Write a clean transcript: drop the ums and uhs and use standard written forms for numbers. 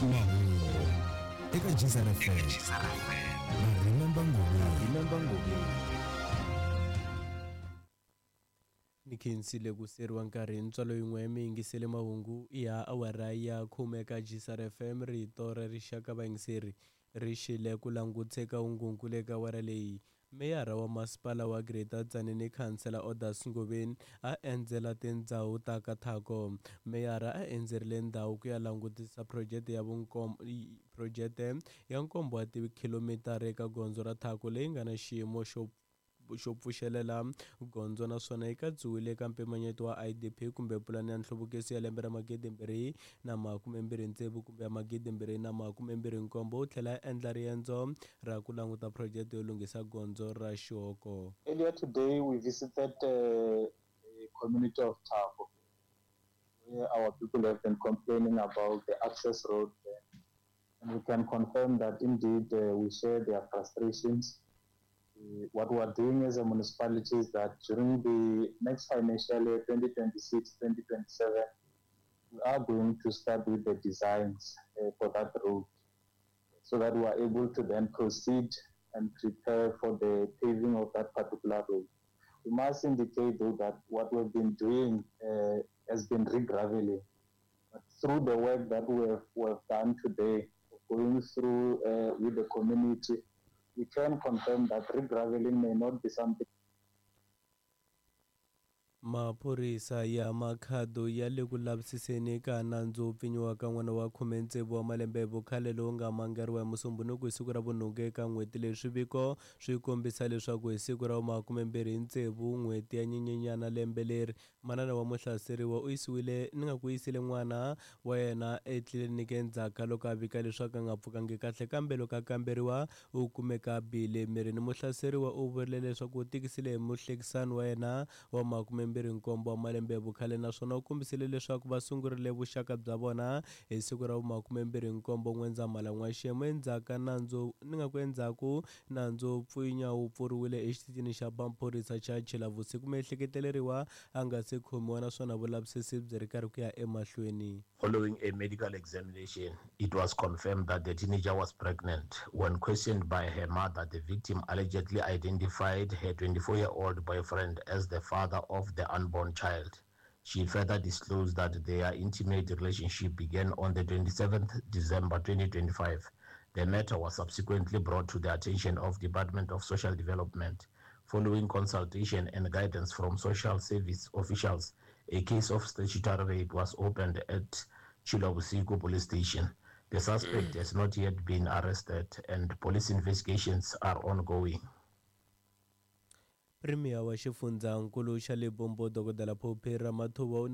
Mahungu eka Gzar FM na Remember Ngobeni. Ni khensile ku siyeriwa nkarhi hi ntswalo yin'we mi yingisele mahungu ya awara ya khume eka Gzar FM rito ra rixaka vayingiseri ri xile ku languteka ungungu le ka awara leyi. Meyara wa masipala wa Greater Tzaneen Khansela Odas Ngobeni a endzela tindhawu ta ka Thako. Meyara a endzerile ndhawu ku ya langutisa phurojete ya phurojete ya nkombo wa tikhilomitara eka gondzo ra Thako leyi nga na xiyimo xo xo pfuxelela gondzo naswona yi katsiwile eka mpimanyeto wa IDP kumbe pulani ya nhluvukiso ya lembe ra 2026 kumbe ya 2027 u tlhela a endla riendzo ra ku languta phurojete yo lunghisa gondzo ra Xihoko. Earlier today, we visited the community of Thako, where our people have been complaining about the access road there. And we can confirm that indeed we share their frustrations. What we are doing as a municipality is that during the next financial year, 2026-2027, we are going to start with the designs for that road, so that we are able to then proceed and prepare for the paving of that particular road. We must indicate though that what we've been doing has been re-graveling. But through the work that we have done today, going through with the community, we can confirm that re-graveling may not be something. Maphorisa ya Makhado ya le ku lavisiseni ka nandzu wo pfinyiwa ka n'wana wa 16 wa malembe hi vukhale lowu nga mangariwa hi Musumbhunuku hi siku ra vunhungu eka n'hweti leyi. Swiviko swi kombisa leswaku hi siku ra 26 n'hweti ya Nyenyenyana lembe leri, manana wa muhlaseriwa u yisiwile ni nga ku yisile n'wana wa yena etliliniki endzhaku ka loko a vika leswaku a nga pfukangi kahle, kambe loko a kamberiwa u kumeka a bihile emirini. Muhlaseriwa u vurile leswaku u tikisile hi muhlekisani wa yena wa 27 wa malembe hi vukhale naswona u kombisile leswaku va sungurile vuxaka bya vona hi siku ra 27 N'wendzamhala n'waxemu. Endzhaku ka nandzu ni nga ku endzhaku nandzu wo pfinya wu pfuriwile exitichini xa maphorisa xa Tshilavusiku. Miehleketeleriwa a nga se khomiwa naswona vulavisisi byi ri karhi ku ya emahlweni. Following a medical examination, it was confirmed that the teenager was pregnant. When questioned by her mother, the victim allegedly identified her 24-year-old boyfriend as the father of the unborn child. She further disclosed that their intimate relationship began on the 27th December 2025. The matter was subsequently brought to the attention of Department of Social Development. Following consultation and guidance from social service officials, a case of statutory rape was opened at Tshilovhusiku Police Station. The suspect has not yet been arrested and police investigations are ongoing. Premier wa xifundzankulu xa Limpopo Dokodela Phophi Ramathuba u